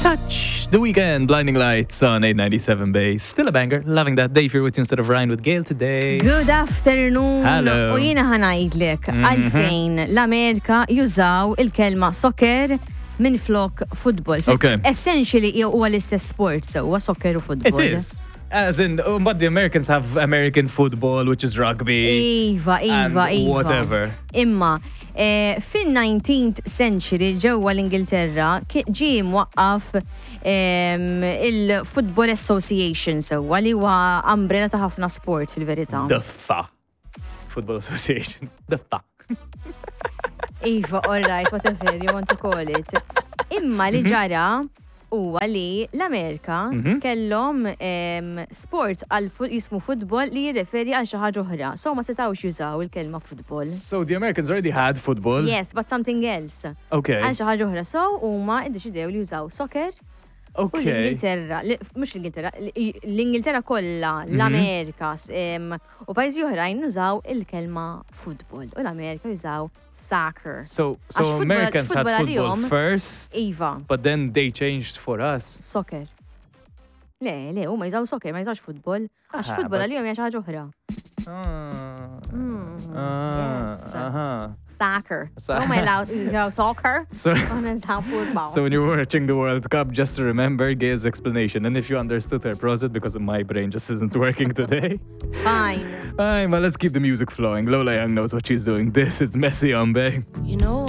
Touch the Weeknd, Blinding Lights on 897 Bay. Still a banger. Loving that. Dave here with you instead of Ryan with Gail today. Good afternoon. Hello. U jiena ħa ngħidlek għalfejn l-Amerika jużaw il-kelma soccer minn flok football. Okay. Essentially huwa l-istess sport sewwa soccer u football. It is. As in, but the Americans have American football, which is rugby. Iva, iva, and iva. whatever. Imma, eh, fin-19th century ġewwa l-Ingilterra ġie mwaqqaf il-Football Association sewwa li huwa umbrella ta' ħafna sport fil-verità. The FA. Football Association. The FA. Iva, all right, whatever you want to call it. Imma li ġara huwa li l-Amerika kellhom sport għal jismu football li jirreferi għal xi ħaġa oħra. So ma setgħux jużaw il-kelma football. So the Americans already had football. Yes, but something else. Għal xi ħaġa oħra. So huma iddeċidew li jużaw soccer u l-Ingilterra, mhux l-Ingilterra, l-Ingilterra kollha, l-Amerika, u pajjiżi oħrajn nużaw il-kelma football u l-Amerika jużaw soccer. So Għax Americans had football football għalihom- first, Iva, but then they changed for us. Soccer. Le, le, huma jużaw soccer, ma jużawx football. Għax Ah, football għalihom hija xi ħaġa oħra. Ah, Yes. Soccer. So huma jużaw soccer, u aħna nużaw football. So when you're watching the World Cup, just remember Gail's explanation. And if you understood her, pause it because my brain just isn't working today. Fine. Aye, well, let's keep the music flowing. Lola Young knows what she's doing. This is Messy on Bay. You know